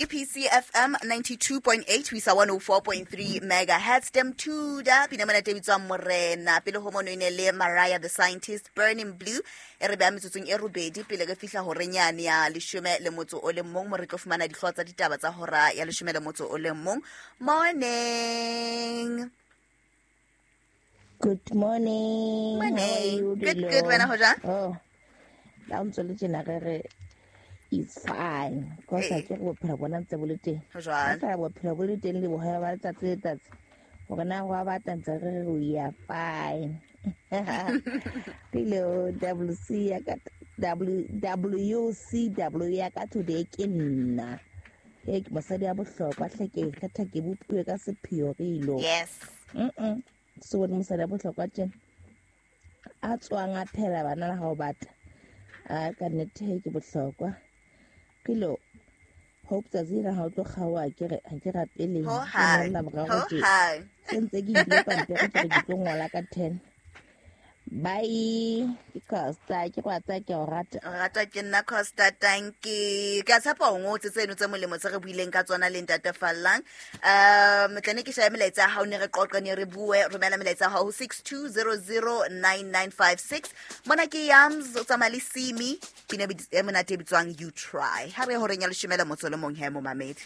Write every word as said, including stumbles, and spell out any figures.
Ke P C F M ninety-two point eight ho isa one oh four point three megahertz. Dem Tudor, pina mona te bitswang Morena. Pele ho mono e ne le Mariah the Scientist, Burning Blue. E re beha metsotsong e robedi pele re fihla horeng yane ya leshome le motso o le mong, mo re tlo fumana dihlooho tsa ditaba tsa hora ya leshome le motso o le mong. Morning. Good morning. Morning. How are you, Good, Dilo? good. Wena ho jwang? Oh, la o ntso le tjena re re it's fine. Because Eh. ha ke re bophelo bona ntse bo le teng. Ho jwang? Ha feela bophelo bo le teng le boholo ba letsatsi le letsatsi. Hore na ho a batla ntse re re we are fine. Dilo, W C ya ka, W, W C W ya ka today ke nna. E ke mosadi ya bohlokwa hle ke ikgetha ke bopuwe ka sepheo re ilo. Yes. Mm-mm. So bone mosadi ya bohlokwa tjena. A tswang a phela bana la hao batla. A ka nnete he ke bohlokwa. Kilo, hope tsatsi lena ha o tlo kgaoha ke re, ha ke rapele. Ho Ke hang. ngolla morao Ho tje. hang. Se ntse ke nkile pampiri ke re ke tlo ngola ka ten. Bye. Ke Costa, ke go tsaya ke o rata. O ratwa ke nna Costa, thank you. Ke a tshepa o ngotse tseno tse molemo tse re buileng ka tsona le Ntate Fallang. Um, tla ne ke shebe melaetsa ya hao, ne re qoqe, ne re bue. Romela melaetsa ya hao ho six two zero zero nine nine five six. Mona ke Yams, o tsamaya le Simi, pina e monate e bitswang You Try. Ha re ye horeng ya leshome le motso le mong he, momamedi.